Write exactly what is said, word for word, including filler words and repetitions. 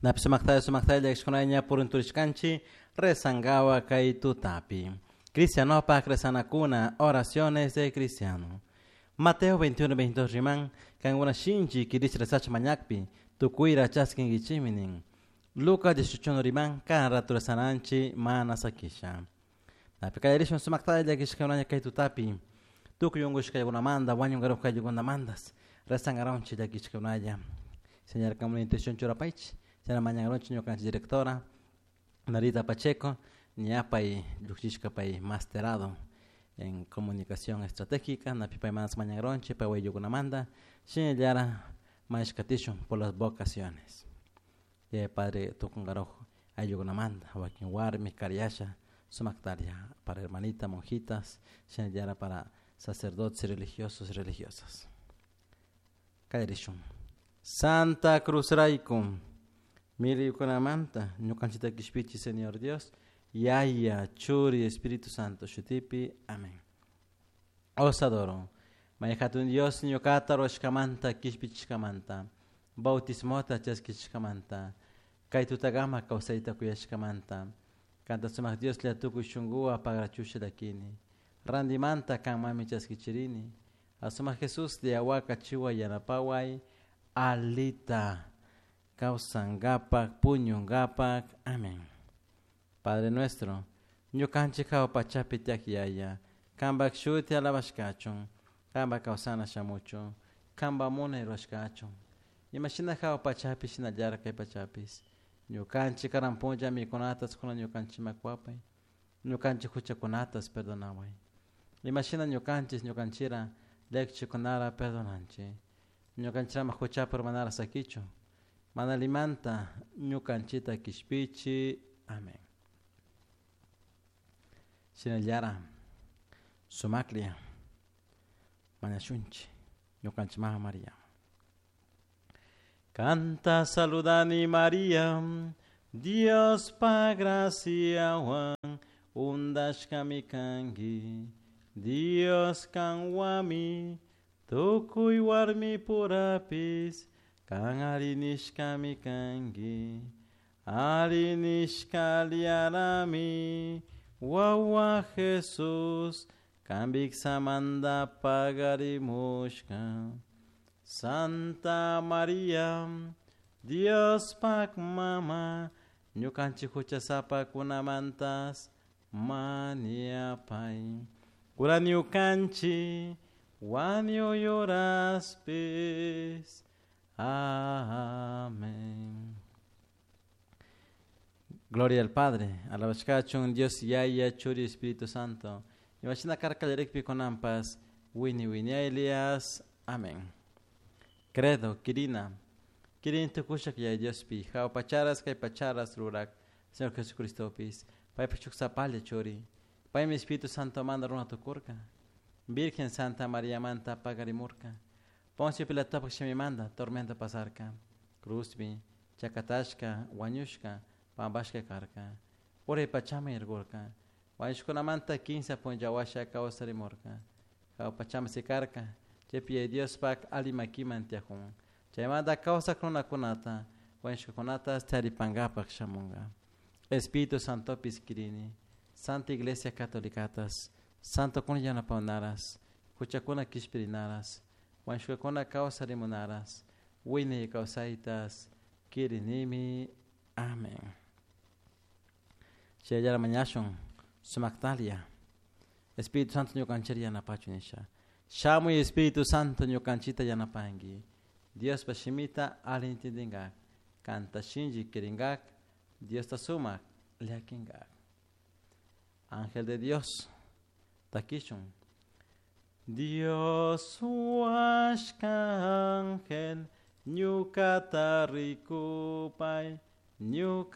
Napi sumaktalla sumaktalla llakishkunalla purunturishkanchik rezangawa kay tutapi. Cristianopak rezanakuna, oraciones de cristiano. Mateo veintiuno veintidós riman, kankuna shinchi kirish rezacha mañakpi, tukuyra chaskinkichikmi nin. Lucas dieciocho riman, kan rato rezananchi mana sakisha. Napi kallarishun sumaktalla llakishkunalla kay tutapi, tukuy unkushkaykunamanta, wañunkarushkaykunamantas, rezangaronchik llakishkunalla. Señor, kama intención churapaychik, señora mañangaronchik ñukanchik directora Narita Pacheco, ñapay llukshishka pay masterado en comunicación estratégica, napi pay manas mañangaronchik, pay wayukunamanta, shinallara mañashkatishun por las vocaciones. Y padre tukungarojo ayukunamanta, wakin warmi karyasha, sumaktaria para hermanita, monjitas, shinallara para sacerdotes religiosos y religiosas. Kallarishun. Santa Cruz rayku, millaykunamanta, ñukanchikta kishpichi, Señor Dios, Yaya, Churi, Espíritu Santo, shutipi, amén. Os adoro. Mayhatun Dios, ñuqata ruwashkamanta, kishpichishkamanta, bautismota chaskishkamanta, kay tutagama kawsayta kuyashkamanta, kanta sumaq Dios la tukuy shunquwa pagrachusha llakini, randimanta kanmami chaskichirini, asumaq Jesús liawaka chiwa yanapaway, alita kawsankapak, puñunkapak, amén. Padre nuestro, ñukanchik hawa pachapi tiyak yaya, kanpak shuti alabashkachun, kanpak kawsana shamuchun, kanpak munay rurashkachun, imashina hawa pachapi shinallara kay pachapis, ñukanchik karan punlla mikunatas kuna ñukanchikman kuwapay, ñukanchik huchakunatas perdonaway, imashina ñukanchik ñukanchira llakichikunara perdonanchik, ñukanchirama huchapa urmanara sakichun, mana limanta ñukanchita kishpichi, amén. Shinallara sumaklla mañashunchik ñukanchik mama María. Canta saludani María, Dios pa graciawan undashkami kanki, Dios kanwami tukuy warmi purapis, kan arinishkami kanki, arinishkaliarami, wawa Jesús, kambiksamanta pagarimushka. Santa María, Dios pak mama, ñukanchik huchasapakunamantas maniapay. Kura ñukanchik wañuyuraspis. Amén. Gloria al Padre, alabashkachun Dios Yaya, Churi, Espíritu Santo. Imashina karkallarikpi kunanpas, wini winiaylias. Amén. Credo, Kirina, Kirin tukushak Yaya Diospi, hawa pacharas kay pacharas rurak, Señor Jesucristopis, paypa chuksapalla Churi, paymi Espíritu Santo manda runa tukurka, Virgen Santa María manta pagarimurka, Poncio Pilatopak shimimanta tormenta pasarka, cruzpi, chakatashka, wañushka, pampashka karka, uray pachaman yarkurka, wañushkunamanta kinsa punlla washa kawsarimurka, hawa pachaman sikarka, chaypi Yaya Diospak alli makiman tiyakun, chaymanta kawsak runakunata, wañushkakunata taripankapak shamunka. Espíritu Santopis kirini, Santa Iglesia Catolicatas, Santo kuna yanapawnaras, huchakuna kishpirinaras, wañushkakuna kawsarimunaras, wiñay kawsaytas kirinimi. Amén. Chayallara mañashun sumaktalia. Espíritu Santo ñukanchita yanapachun nisha. Shamuy Espíritu Santo ñukanchita yanapanki. Diospa shimita alli entendingak, kanta shinchi kiringak, Diosta sumak llakinkak. Ángel de Dios, takishun. Dios huashka ángel, ñukata rikupay, ñuka